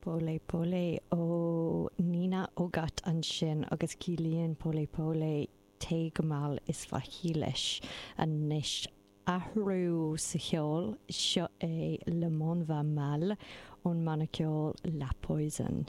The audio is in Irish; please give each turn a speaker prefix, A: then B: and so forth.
A: Pole Pole ó Nina Ogot ansin agus ciallaíonn Pole Pole téigh go mall is faichille leis. Anois, athrú sa cheol, seo é Le Monde Va Mal ón mbanna ceoil La Poison.